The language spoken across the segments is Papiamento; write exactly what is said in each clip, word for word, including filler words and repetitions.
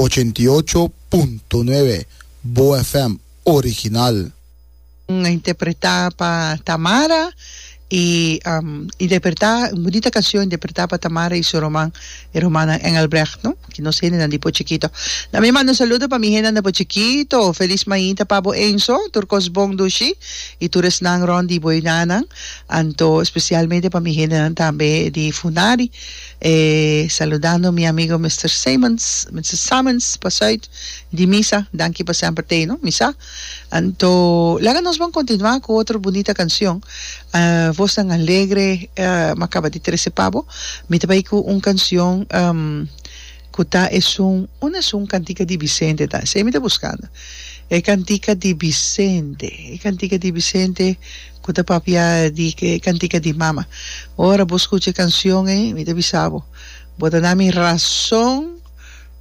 Ochenta i ocho punto nuebe Bo F M original. Interpretá pa Tamara i um, interpretá un bunita kanshon interpretá pa Tamara i su ruman, e rumannan Engelbrecht, no? Ku nos hendenan di Po Chikito. Na mi manda un saludo pa mi hendenan di Po Chikito. Felis mainta pa bo, Enzo, tur kos bon, dushi i tur esnan rònt di bo einan. Anto spesialmente pa mi hendenan tambe di Funari. Eh, saludando mi amigo Mister Simons, Mister Simons, pa Zuid, di misa. Danki pa semper t'ei, no? Misa. Anto, laga nos ban kontinuá ku otro bunita kanshon. Uh, Vosnan Alegre, uh, m'a kaba di trese pa bo. Mi ta bai ku un kanshon um, ku ta esun, un esun kantika di Vicente ta. Esei mi ta buskando. E kantika di Vicente. E kantika di Vicente ku ta papia di e kantika di mama. Ora bo skucha e kanshon ei, mi ta bisa bo. Bo ta duna mi rason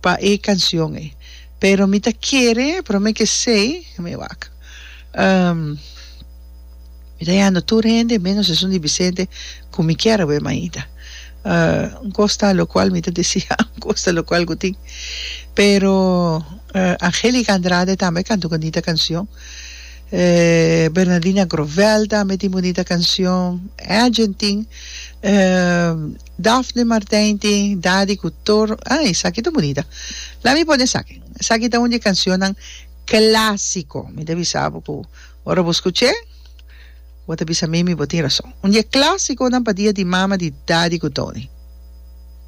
pa e kanshon ei. Pero mi ta kere, pero mi ke sei, mi wak. Um, mi ta yendo tur hende, menos esun di Vicente, ku mi kier bai mainta. Uh, un kos ta lokual mi ta deseá, un kos ta lokual ku tin. Pero uh, Angélica Andrade tambe kanta un bunita kanshon. Eh, Bernardina Grovel tambe tin bunita kanshon. Agent tin. Eh, Daphne Martijn tin. Dadi Couture. Ai, esaki ta bunita. Laga mi pone esaki. Esaki ta un di kanshon klásiko. Mi ta bisa ku ora bo skuch'é, bo ta bisa mi, bo tin rason. Un dia klásiko nan pa dia di mama di Dadi ku Tony.